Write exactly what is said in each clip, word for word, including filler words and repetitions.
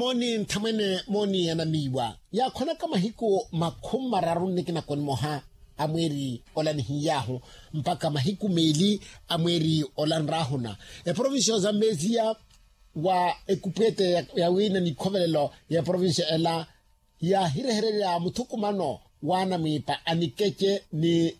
Mooni nthamwene mooni ya namiiwa yaakhwelaka mahiku makhumi mararu nnikina koni moha a mweeri ola nihiy'ahu mpakha mahiku meeli a mweeri ola nraahuna. Eprovincia ya ozambeziya wa ekupwete ya wiina nikhovelelo ya eprovincia ela yaahirehererya muthukumano w'anamwiipa a nikece ni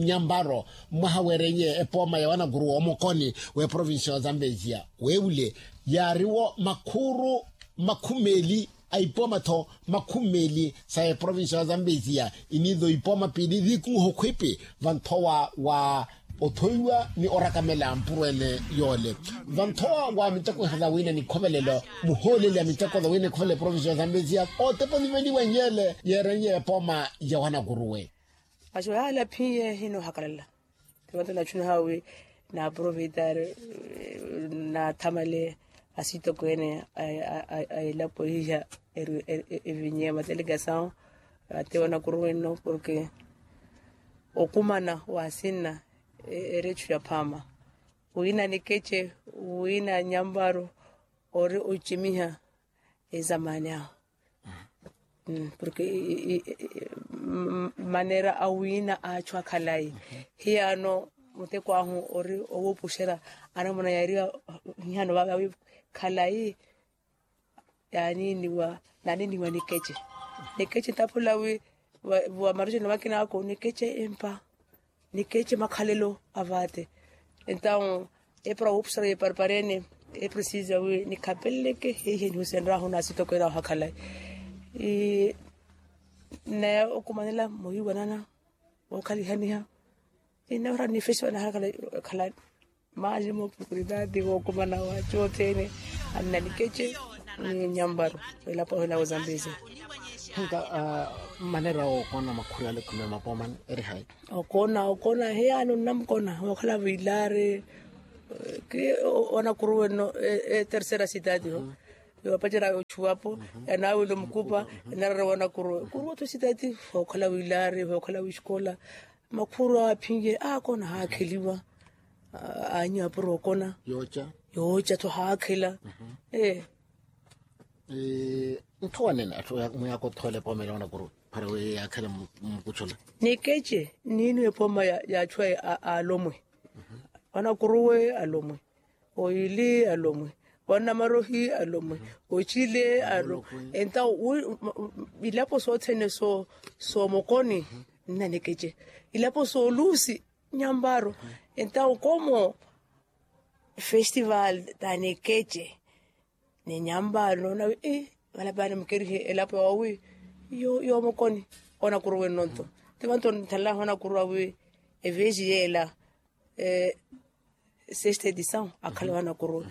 nyamparo mwaha weereiye epooma ya wanakuruwa omokoni w'eprovincia ya ozambeziya weewule yaariwo makhuuru makhumi meeli a ipooma-tho makhumi meeli sa eprovincia ya ozambeziya iniizo ipooma piili viikumuha okhwipi vanthowa wa othoiwa ni orakamela mpurweene yoole vanthowa wa miteko iha za wina nikhovelelo muhooleli a miteko za wina nikhovelelo eprovincia ya ozambeziya otepa oniveliwa nyele yeereiye epooma ya wanakuruwe. Aso yaala phinye hinohakalala. Timanto nachuniha wi naaproveitari naathamale asitokweene a elapo ihiha evinye matelegasawo ate wanakuruwe nno porke okumana wa asinna eri echu ya phaama wina nikece wina nyamparo ori ocimiha ezamani ahu porke manera awiina a achu akhalayi hiyaano muteko ahu ori owuupuxerya anamuna yaariwa hihano vaava wi khalayi yaaniiniwa naaniiniwa nikece nikece ntaphula wi wa marujeni makina ako nikece empa nikece makhalelo a vaate entawu epara wuupuxerya eparipareene epresiza wi nikhapeleleke heihe nihusenryahu naasitokweene ahu akhalayi naye okumanela muhiwanana wookhalihaniha innawerani festival naharakhala khalani maali mooportunitaati wookumana wa achu othene anna nikece ni nyamparo elapo ahina wozambeze. Nka manera ookona makhuri ale khumi ya mapoomani eri hayi? Okoona okoona heyaani onnamukona wookhala viilaari ki wanakuruwe nno etersera sitaati ho yoopacerya ochuwapo yanaawile omukupa enarara wanakuruwe kuruwa-tho sitaati hookhala wiilaari hookhala wixikola makhuru aaphinye aakona haakheliwa aanyu apuro okona yooca tho haakhela ee nthowanene atthu mwiyaaka othoole epooma ela wanakuruwe para wi yaakhele mukutthula nikece niiniwe epooma ya achu aalomwe wanakuruwe alomwe oyili alomwe wanamarohi alomwe ocile alo entawo ilapo sothene soomokoni nna nikece ilapo soolusi nyamparo entawo komo festival ta nikece ni nyamparo noona wi valapani mukerihe elapo yoowi yoomokoni onakuruwe nnonto timanto nthanlaho onakuruwa wi eveji yeela sesta edisawu akhala wanakuruwe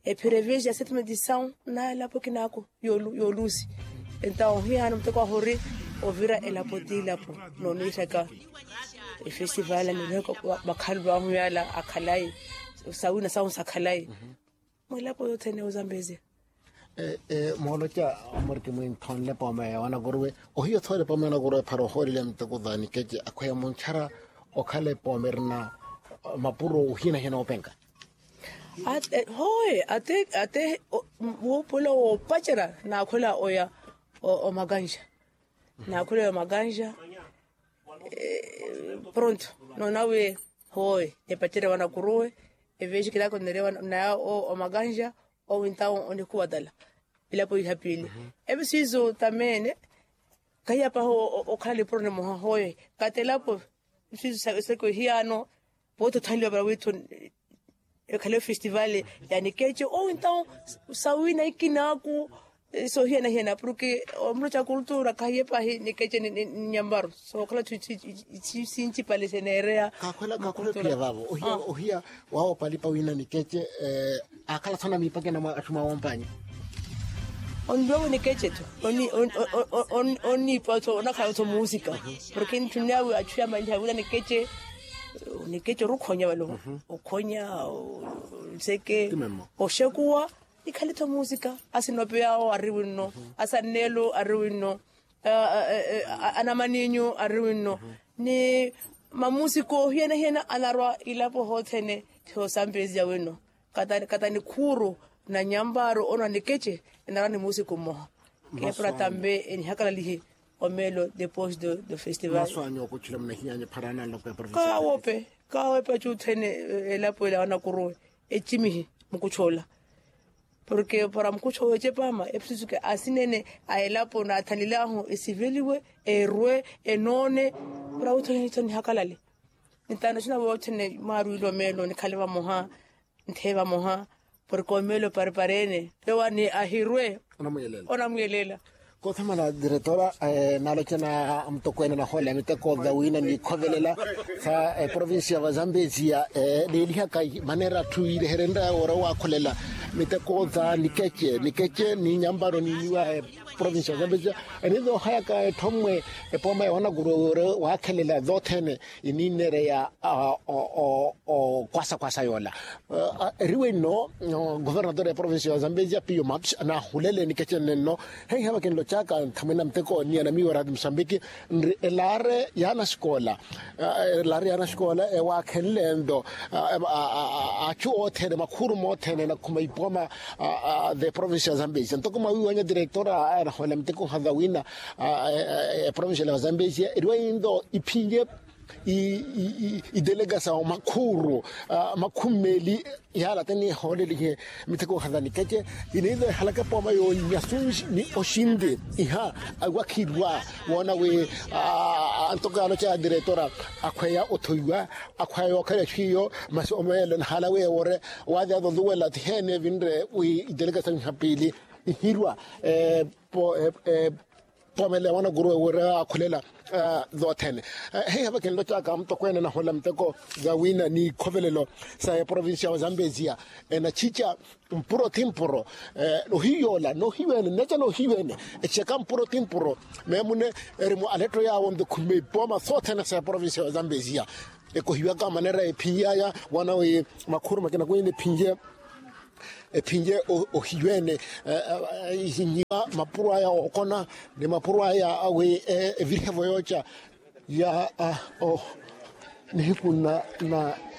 ephira eveji ya setma edisawu na elapo kinaako yoolusi entawo hiyaano muteko ahu ori ovira elapo ti elapo nooniiraka efestival anirihaka vakhalulu ahu yaala akhalayi sawina sahu sakhalayi mwilapo yothene ozambezia mooloca muriki mwinthonle poome ya wanakuruwe ohiya othoole poome ya wanakuruwe phara ohoolele muteko za nikece akhweya muntthara okhala epoome erina mapuro ohinahina openka hooye ate wuupuwela woopacerya naakhwela oya omakanxa naakhwela oya omakanxa pronto noona wi hooye nipacerya wanakuruwe eveji kilaako nnerewa naya omakanxa owi ntawo onikuwatala elapo iha piili evi siizo tameene kahiyapaha okhala nipuro nimoha hooye katelapo siizo seke hiyaano pooti othanliwa para wiitho ekhale festival ya nikece owi ntawo sawina ikinaaku sohiyana-hiyana porke omuro ca kultura kahiye pahi nikece ni nyamparo sookhala sinci pale seneereya kakhwela kakhwela ophiya vaavo ohiya ohiya waawopalipa wina nikece aakhala tho na miipakena mwa atthu mwaawompanyi onniipa tho onakhala tho muusika porke ntthuneya wi atthu yaamanyiha wina nikece nikece orukhonya vale okhonya nseke oxekuwa ikhale tho muusika asinopeyaawo ari winno asanneelo ari winno anamaninyu ari winno ni mamuusika ohiyana-hiyana anarwa ilapo hothene thoosampesiya winno kata nikhuuru na nyamparo ono anikece enarani muusiku mmoha. Keepara tampe enihakalalihe omeelo depois do festival. Kaawope kaawope acuuthene elapo ela wanakuruwe ecimihi mukuchoola. Porke para mukuchoola ecepaama epususuke asinene a elapo naathanile ahu esiveliwe erwe enoone. Para wuuthene nihakalale nitaano sinavo othene mwaarwiile omeelo nikhale vamoha ntheye vamoha. Porke omeelo paripareene yowani ahirwe onamwiyelela. Koothamala diretora, naaloca na mutokweene nahoola miteko vawina niikhovelela sa eprovincia va zambezia neelihaka maneera atthu iireherenrya woora owaakholela miteko za nikece nikece ni nyamparo niiniwa eprovincia va zambezia. Eniiza ohayaka etthommwe epooma ya wanakuruwe woora owaakhelela zothene iniinereya okwasa kwasa yoola. Eriwe nno governador ya provincia ya zambezia piyo maps anahulele nikecene nno. Heiha vakinlocaka nthamwene na muteko ni anamiiwa rati musambiki nri elaare ya anasikoola elaare ya anasikoola ewaakhenle nto achu othene makhuuru mothene anakhuma ipoma the provincia ya zambezia ntoko mwawiiwanya director aya anahoolela miteko nhaza wina eprovincia ya zambezia eriwe nto iphinye idelegasawo makhuuru makhumi meeli. Yaala tenihoolelihe miteko nhaza nikece iniiza ehalaka epooma yoonyasu ni oxinti iha awakhirwa woona wi ntoko yaaloca ya diretora akhweya othoiwa akhweya yookhala exwiiyo masi omeelo nahaala wi ewore waazyaza oluwela tiheene evinre wi idelegasawo iha piili ihirwa poomela ya wanakuruwe wira waakhulela. Zothene heiha vakinlocaka mutokweene nahoolela miteko za wina ni ikhovelelo sa eprovincia wa zambezia enachica mpuro ti mpuro. Nohiyoola nohiweene nnaca nohiweene echicaka mpuro ti mpuro meemune eri mu aletto yaawo nto khumeipooma sothene sa eprovincia wa zambezia ekohiwaka maneera ephinyeaya wana wi makhuuru makina kwina ephinye ephinye ohiweene ihinyiwa mapuro aya ookona ni mapuro aya awi evirihevo yooca ya nihiku na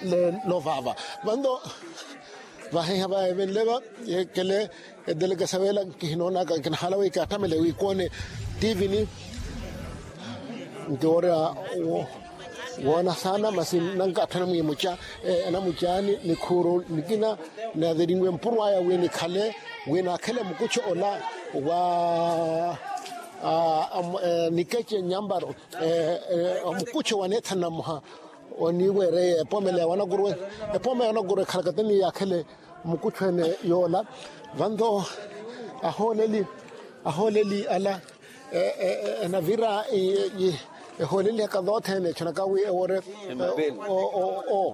leelo vaava. Vanto vahiha va evenle va yeekele edelekesa weela nkihinoonaka nkinahala wi kaattamele wi koone tivini nti woorya woona saana masi nankaatthana mwiimuca enamucaani nikhuuru nikina naaveriwe mpuro aya wi nikhale wi naakhele mukucho ola wa nikece nyamparo omukucho waneethana mmoha oniiweereye epoomela ya wanakuruwe epooma ya wanakuruwe ekhalaka teni yaakhele mukucho ene yoola. Vanto ahooleli ahooleli ala enavira ehoolelihaka zothene echonaka wi ewore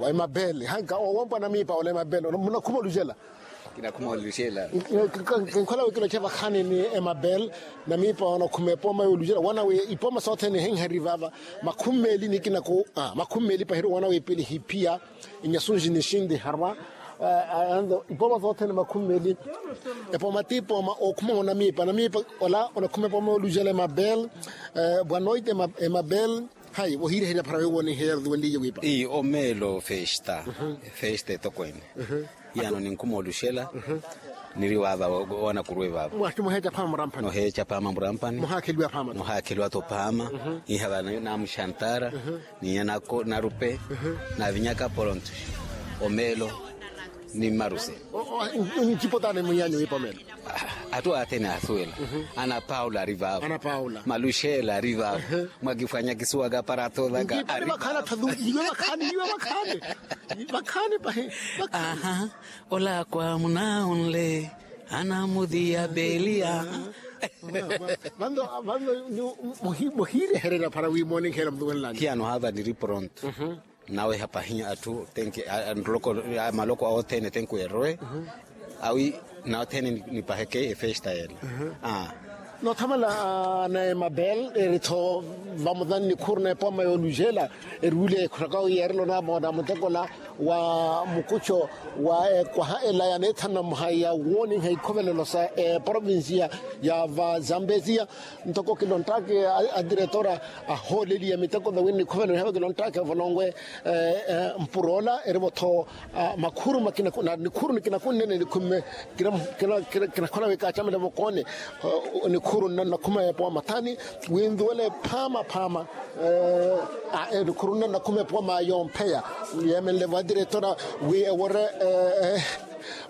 emabele hanka owompwa namiipa ola emabele munakhuma olujela. Kinakhuma olujela. Kinkhola wi kiloche vakhaani ni emabele namiipa onakhuma epooma yoolujela wana wi ipooma sothene ehenheri vava makhumi meeli ni kinaku makhumi meeli pahiri wana wi pili hiphiya inyasunji ni shinti harwa. Anto ipooma sothene makhumi meeli epooma ti ipooma okhuma onamiipa namiipa ola onakhuma epooma yoolujela emabele bwanoite emabele. Hayi wohiireherya phara wiwo niheya rutuwenliye wiipa ii omeelo festa festa etokwene. Iyano ninkhuma oluxela niri waava wanakuruwe vaava. Mwati muheeca phaama muramphani muhaakheliwa phaama muhaakheliwa-tho phaama. Iha vanayo naamuxantara ninya narupe naavinyaka poronto omeelo ni mmaruse. Ncipo taani munyanyu wiipa omeelo. Atthu athene aasuwela ana paula ari vaavo maluxela ari vaavo mwakifwanya kisuwaka para athoolaka ari vaavo. Vakhaani pahi. Aha. Olakwa munaunle ana mudiyabeliya. Vanto muhiirehererya para wi moonenkheela mutuwenlani. Khiyano haava niri pronto. Naweha pahi atthu tenke maloko awo othene tenke erwe awi nawe othene nipaheke efesta yela. Noothamala na emabel eri-tho vamothani nikhuru na epooma yoolujela, eri wule ekhuraka wi yeerelo namoona mutekola wa mukucho wa ekwaha ela ya neethanu na mmoha ya wooninha ikhovelelo sa eprovinsiya ya vazambezia. Ntoko kilonttaaki adiretora ahooleliya miteko vawina nikhovelelo hiyavo kilonttaaki evolonwe mpuroola erivo-tho makhuru makina na nikhuru nikina kunnene nikhumme. Kinakhola wi kaacamela vokoone nikhuru nna nnakhuma epooma thani wi nzuwele phaama phaama. Nikhuru nna nnakhuma epooma yompheya yeemenle vo adiretora wi ewore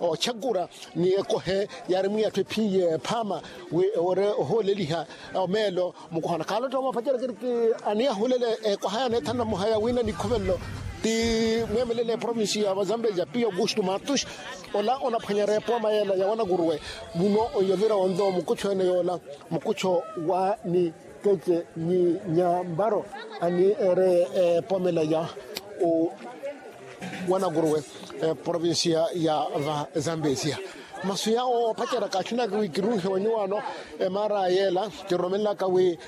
ochakura ni ekohe yaari mwiyatthu ephiye phaama wi ewore ohooleliha omeelo. Mukuhana khaalotta omwapacerya kiriki aniyahulele ekwaha ya neethanu na mmoha ya wina nikhovelelo ti mweemelele eprovinsi ya vazambezia piyo augusto matus ola onaphwanyerya epooma yeela ya wanakuruwe. Muno oyovira onto mukuchu ene yoola mukucho wa nikeche ni nyambaro ani ere epoomela ya wanakuruwe eprovinsiya ya vazambezia. Masu yawo opacerya kaachunaaka wi kirunhe wa nyuwaano emaara yeela kiroromelaka wi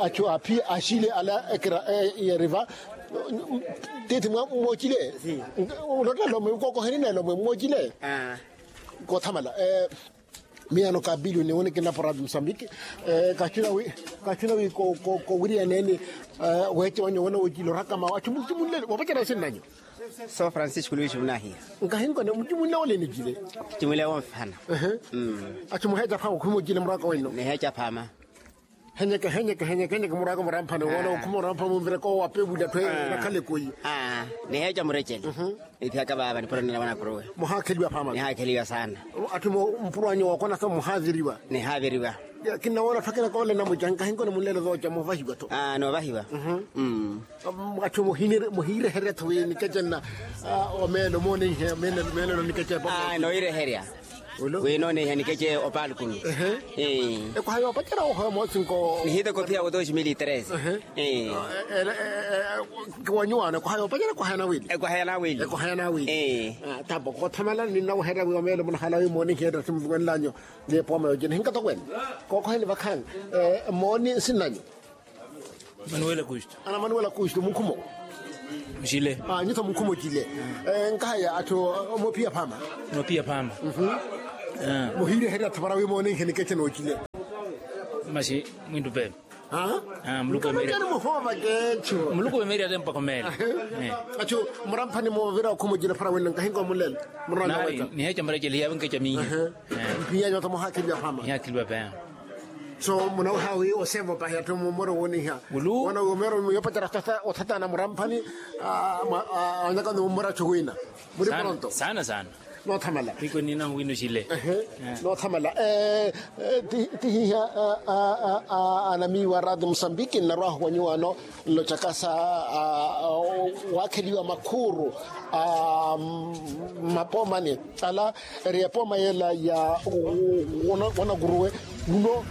achu aphi axile ala ekira yeriva. Tiithi mwoocile. Ulotta lomwe kookoheni na elomwe mwoocile. Koothamala miyaano ka biliyoni woni kinapora musambiki. Kachuna wi kowiriyaneeni weece wanyu wona woocile orakama achu mucumunlele woopacerya osinnanyu. So francisco luis munahiya. Nkahinkone mucumulle wole nicile. Cumulle wonfihana. Achu muheeca phaama okhuma ocile muraka wenno niheeca phaama. Henyeke henyeke henyeke henyeke muraka muramphani wona okhuma oramphani mumvireka owapevuli atthu eyo nakhala ekoyi. Niheeca murecele. Niphiyaka vaava niphoroni na wanakuruwe. Muhaakheliwa phaama nihaakheliwa saana. Atthu mpuro anyu wookonaka muhaaviriwa. Nihaaviriwa. Kinnawoona atthu akina koole namuca nkahinkone munlelo vooca moovahiwa-tho. Noovahiwa. Atthu muhiireherya-tho wi nikecenna omeelo mooneihe meelelo nikece. Noohireherya wi nooneiha nikece opaalukuni. Ekwaha yoopacerya ohoya moosinko nihiteko phiya wo dos mil tres. Wanyuwaano ekwaha yoopacerya ekwaha yanawili. Ekwaha yanawili. Ekwaha yanawili. Tapo koothamala ninnaweherya wi omeelo munahala wi mooneihe ettasi musuwenlanyu. Ni epooma yoocina hinkatokweene kookoheni vakhaani. Mooni nsinnanyu. Manuela kusto. Ana manuela kusto mukhumo. Mucile. Nyuto mukhumo cile. Nkahaya atthu moopiya phaama. Moopiya phaama. Muhiireherya atthu para wi moonenhe nikeche noocile. Masi mwintu pepe. Muluku wemeerya. Muluku wemeerya tempa khomeela. Atthu muramphani moovira okhumo cile para wina nkahinko mulelo. Niheeca murecele hiyaawe nkeca miiha. Mpiyanyu atthu muhaakheliwa phaama. Nihakheliwa pepe. So munaweha wi osevo pahi atthu mumoro wooniha. Wona wi omero yoopacera othatana muramphani. Anyaka ni mumora chuwina. Muri pronto sana sana. Noothamala. Iko nina wino chile. Noothamala. Tihiha. Anamiiwa radi musambiki nnarwaho wa nyuwano nlocaka sa waakheliwa makhuuru a mmapoomani ala eri epooma yeela ya wanakuruwe. Wuno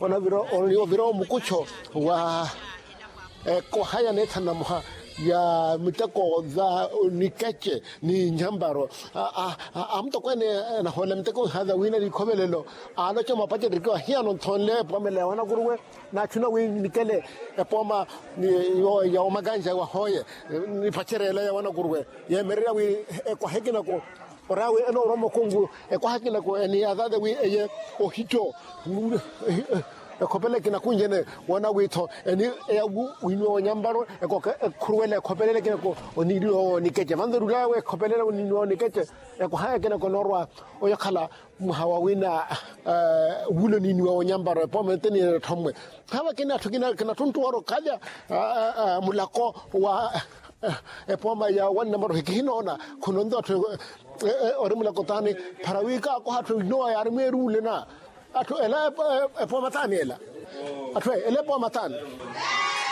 onavira omukucho wa ekoha ya neethanu na muha ya miteko za nikece ni nyamparo. Amutokweene nahoolela miteko ihaza wina likhovelelo aaloca mwapacerya erikiwa hiyano nthonle epoomela ya wanakuruwe. Naachuna wi nikele epooma ya omakanja wahooye nipacerela ya wanakuruwe yeemererya wi ekwaha ekinako oraawe enoorwa mukungu ekwaha ekinako eniyazaze wi eye ohitto ekhopele kinakunjene. Wona witho eni eyawu winiwa wonyambaro ekhuruwela ekhopelele kinako oniriwa wonikece vanzerulawe ekhopelele oniniwa wonikece. Ekwaha ekinako noorwa oyakhala mwaha wa wina wulo niniwa wonyambaro epooma ete niyene etthommwe. Hava kina atthu kina kinattunttuwara okhalya mulako wa epooma ya wannamarohi kihinoona khunonto atthu ori mulako taani para wi kaakoha atthu inowa yaari mweeri ule na atthu ela epooma taani ela atthu ela epooma taani.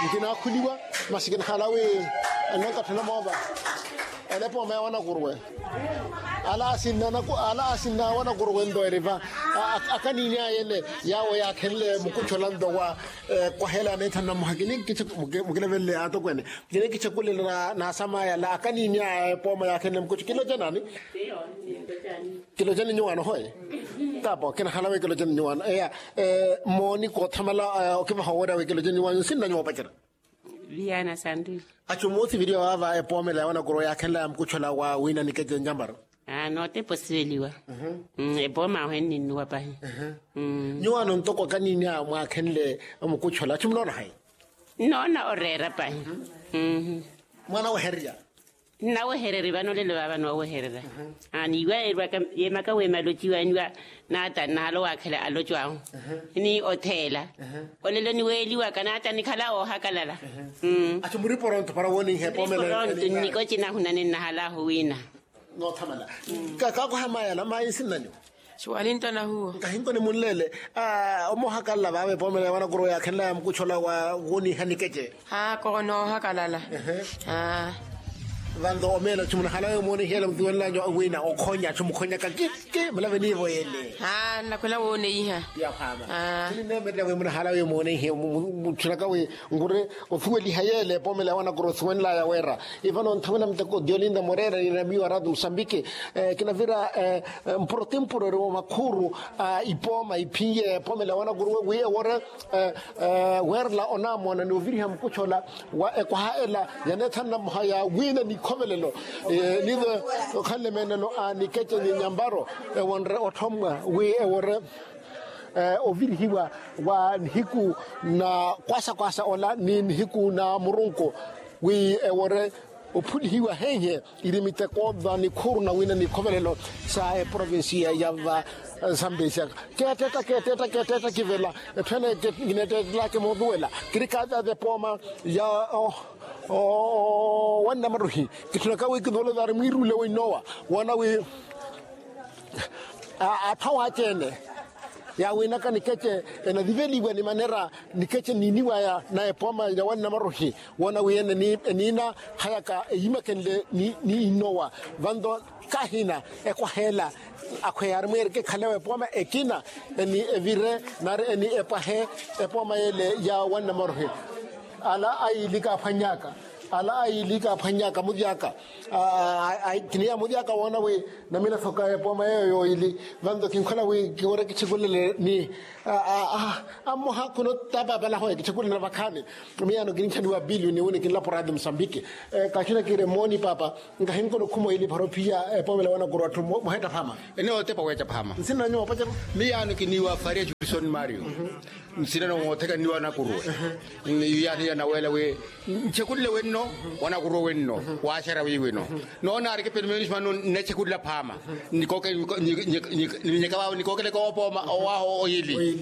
Nkinakhuliwa masi kinakhala wi enankatthu namoova ela epooma ya wanakuruwe. Ala asinna anaku ala asinna awanakuru wento eri va. Akaniini aya ene yaawo yaakhenle mukutthola nto wa kwaheela aneetha nnamuhakini mukilevelele aatokweene. Kinikitthakulela naasamaya ala akaniini aya epooma yaakhenle mukuttho kiloca naani? Kilocani nyuwaano hoye. Tapo kinahala wi kilocani nyuwaano eya. Mooni koothamala okivaha owerya wi kilocani nyuwaano nsinna nyuwa opacerya. Viana santu. Achu muusiviriwa waava epoomela ya wanakuru yaakhenlaya mukutthola wa wiina nikece nyamparo. Nootepa osiveliwa. Epooma ahu enninnuwa pahi. Nyuwaano ntoko akaniini aya mwaakhenle mukutthola achu munoona hayi? Nnoona oreera pahi. Mwaanawehererya. Nnawehererya vano olelo vaava noowehererya. Niiwa yeemaka weema alociwa niiwa naata nnahala owaakhela aloco ahu. Ni otheela olelo niweeliwaka naata nikhala woohakalala. Achu muriporonto para wooniha epoomela. Nnikocina ahunani nnahala ahu wiina. Noothamala. Kaakoha mayi ala mayi nsinnanyu. Suwalinto nahuwo. Nkahinko nimunleele. Omoohakalala vaava epoomela ya wanakuru yaakhenlaya mukutthola wa wooniha nikece. Haako noohakalala. Vanto omeela achu munahala wi mooniha ele muthuwenlanyu wiina okhonya achu mukhonyaka kiki mulave niivo ele. Nnakhwela wooneiha. Yaphama. Kinineemererya wi munahala wi mooneihe mutthinaka wi nkuri osuweliha yeele epoomela ya wanakuru osuwenlaya weera. Ivano nthamwina muteko diolinda moreera ni namiyo arato musambiki. Kinavira mpuro timpuro eri wa makhuuru a ipooma iphinye epoomela ya wanakuru wi ewore weerela onamoona ni oviriha mukutthola wa ekwaha ela ya neetha nnamuha ya wiina nikhovelelo. Niive okhanle meenelo a nikece ni nyamparo ewonre otthommwa wi ewore ovirihiwa wa nihiku na kwasakwasa ola ni nihiku na murunku wi ewore ophulihiwa henhe iri miteko va nikhuuru na wiina nikhovelelo sa eprovincia ya va sambesia. Keettetta keettetta keettetta kivela etthu ene kineettettelaka mootuwela kiri kaatata epooma ya wannamaruhi. Kitthunaka wi kinuulo vaari mwiiruule wa inowa woona wi atthu awaaci-ene yaawinaka nikece enaviveliwa ni manera nikece niiniwaya na epooma ya wannamaruhi. Woona wi ene eniina hayaka eyimakenle ni inowa vanto kahina ekwaheela akhweya aari mweereke ekhalewa epooma ekina eni evire nari eni epwahe epooma yeele ya wannamaruhi. Ala ayiili kaaphwannyaka ala ayiili kaaphwannyaka muvyaka. Kiniya muvyaka woona wi namina soka epooma yeeyo yooyili vanto kinkhola wi kiwore kitthikulele ni ammoha khuno tapaapala hoye kitthikulele vakhaani. Miyaano kininchaniwa bilio ni wini kinlapo radio musambiki. Kaxina kiire mooni paapa nkahinkona okhuma oyili para ophiya epoomela wanakuru atthu muhetta phaama. Ene otepa weeca phaama nsinanyu moopacerya. Miyaano kiniiwa faria jukisoni mario nsinano mootheka nniwa nakuruwe. Yaathi yanaweela wi nchekulile wenno wanakuruwe wenno waaxera wiiwino. Noona arikipelo meenismano nnechekulila phaama. Nikookele koopooma owaaho oyili.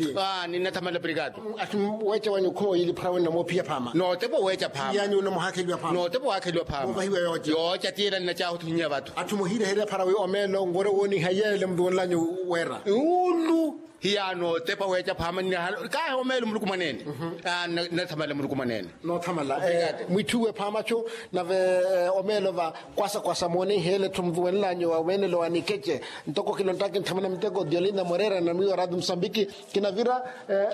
Ninnathamala pirikatu. Weeca wanyu okhuma oyili phara wenna moophiya phaama nootepa oweeca phaama. Nootepa owaakheliwa phaama yooca tiyela nnacaahuthunya vathu. Atthu muhiireherya phara wi omeelo nwoore wooniha yeele mutuwenlanyu weera. Ulu hiyaano otepa weeca phaama nnahala kaahi omeelo muluku mwaneene. Nnathamala muluku mwaneene. Noothamala. Mwitthuwe phaama cu nave omeelo va kwasakwasa mooneiheele-tho mutuwenlanyu wa weenelo wa nikece. Ntoko kilontaki nthamuna miteko diolinda moreera na miyo ratu musambiki kinavira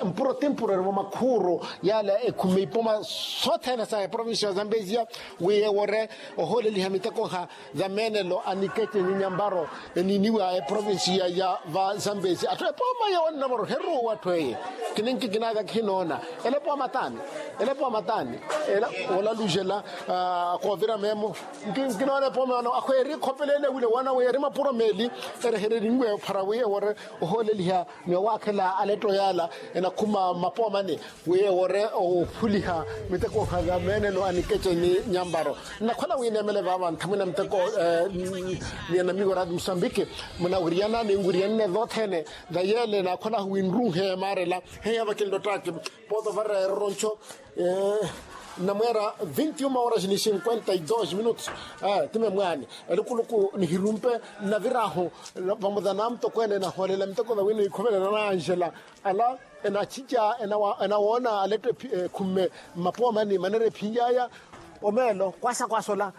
mpuro timpuro eri vo makhuuru yaala ekhumi ipoma sothene sa eprovincia ya zambezia wi ewore ohooleliha miteko ha zameenelo a nikece ni nyamparo eniiniwa eprovincia ya va zambezia atthu epooma ya wannamoro heruuwa atthu eye. Kininki kinaaka kihinoona ela epooma taani ela epooma taani ela olalujela koovira meemo. Nkinoona epooma yoona akhweeri khopeleene wile woona wi eri mapuro meeli erehereriwe phara wi ewore ohooleliha ni owaakhela aletto yaala enakhuma mmapoomani wi ewore ophuliha miteko ha zameenelo a nikece ni nyamparo. Nnakhola wi neemele vaava nthamwina miteko ni anamigo ratu musambiki munawiriyana ninwiriyanene vothene. Vayeele naakholahu wi nruuhe maarela heya vakinlottaki poota vara eroroncho. Nnamweera vinti uma horas ni cinquenta e dos minutos. Ti memwaani elukuluku nihirumpe nnaviraahu vamoza na mutokweene nahoolela miteko vawina ikhovelela na anjela ala enachica enawoona aletto ekhumme mmapoomani manera ephinyaaya. Omeelo kwaasa kwaasa ola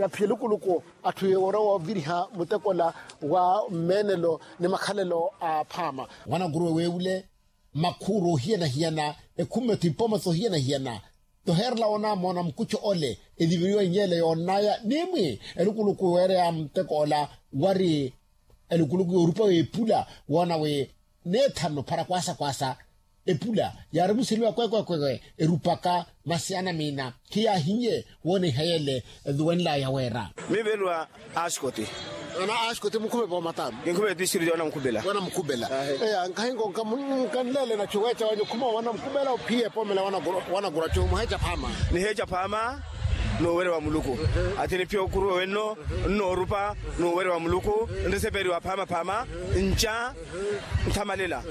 yaphiya elukuluku atthu ewora wooviriha muteko ola wa mmeenelo ni makhalelo a phaama. Wanakuruwe weewule makhuuru ohiyana-hiyana, ekhummetho ipooma sohiyana-hiyana. Toheerela woonamoona mukucho ole eliviriwa inyeele yoonnaya n'imwi elukuluku weereya muteko ola wari elukuluku yoorupa w'epula woona wi n'ethanu para kwaasa kwaasa. Epula yaarimuseliwa kwekwekwewe erupaka masi anamiina khiyaahiye woona ihayi ele. Eduwenlaya weera. Miivelwa askoti. Ana askoti mukhume poomatamu. Kinkhume district yoona mukhupela. Woona mukhupela. Eya nkhahinko nkanleele nachu weecha wanyu khuma woona mukhupela ophiye poomela. Wanakura chu muheecha phaama. Niheecha phaama n'uwere wa muluku. Ati niphiya okuruwa wenno nnoorupa n'uwere wa muluku. Nriseperiwa phaama phaama nca nthamalela.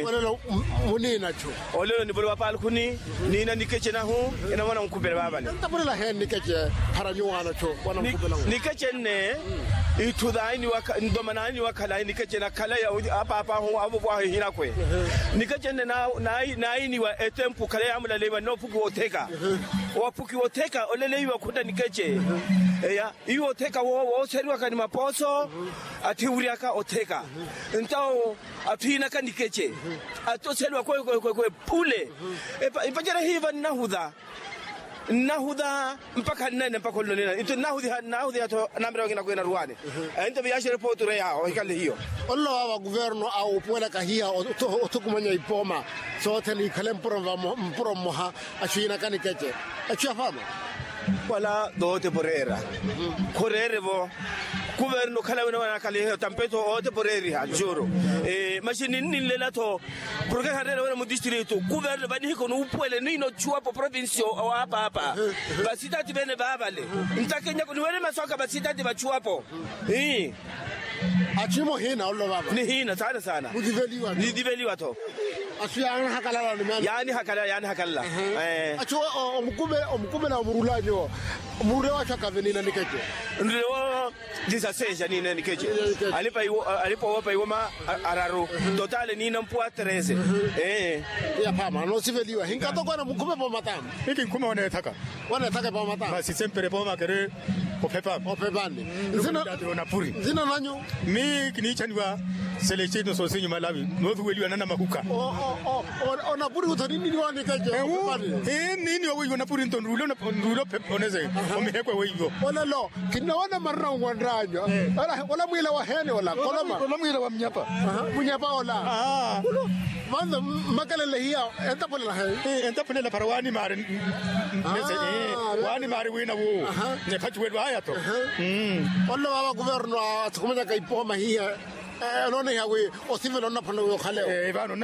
Olelo muniina chu. Olelo nivolewa palkhuni niina nikece nahu. Enamwana nkhupelela vaavale. Ntapulela heni nikece para nyuwaano chu. Nikece nne itthu thaini wakhala nikece nakhala ya apaapa ahu avovwahu ehinakwe. Nikece nne nainiwa etempu khala yaamulalaiwa nne ophuki wotheka. Waphuki wotheka oleleiwa khutta nikece. Eya iwo otheka wooseriwaka ni mapooso. Atthi wuryaka otheka ntawo atthu yiinaka nikece. Atthu oseliwa kwekwekwe phule. Ipacerya hiiva nnahutha nnahutha mpakha nnene mpakha olonina nto nnahuthiha nnahuthiha tho namirewakina kwena ruwaani. Ento viyaxere pootureya ohikale hiyo. Ololowa vakuverno a opuwelaka hiya othukumanya ipooma sothene ikhale mpuro mmoha. Axu yiinaka nikece axu yafaama. Wala toote poreera khoreere vo kuverno khala wina wanakhaliheyo tampeto oote poreeriha juro. Maxi ninnilela tho porke khareere wina mudistritu kuverno vanihiko nuupuwele niino chuwapo provinsio owaapaapa vasitati vene vaavale. Ntakenyako niwene masu aka vasitati vachuwapo. Ii. Achimo hiina ololo vava nihiina saana saana. Nidiveliwa tho. Asu yaanihakalala. Yaanihakalala yaanihakalala. Achu omukuvela omurula nyuwo. Murule wachu akave niina nikeche. Nrule wo disaseja niina nikeche. Alipa woopa iwoma araru totale niina mpuwa trese. Ee. Yaphama noosiveliwa hinkatokwana mukhume pomatamu. Iki nkhume woneethaka. Woneethaka pomatamu. Masi sempere pomakere ophepama. Ophepani. Nzina nanyu? Mi kiniichaniwa selestino sosinyu malawi noothuweliwa nana mahuka. Onapuri utho nininiwa nikeche. Nininiwa weiwo napuri nto nrule onese. Omihekwe weiwo. Olelo kinnoona marina onwanranyu. Ola mwila wa heni ola koloma. Ola mwila wa mnyapa. Mnyapa ola. Vanza mmakalele hiya. Entapulela he. Entapulela para wani mari. Wani mari wina wo. Nepachuwelu aya to. Olelo vava kuverno athukumanyaka ipoho mahiya. Onoonehiya wi osivela onnaphona wi okhalewo.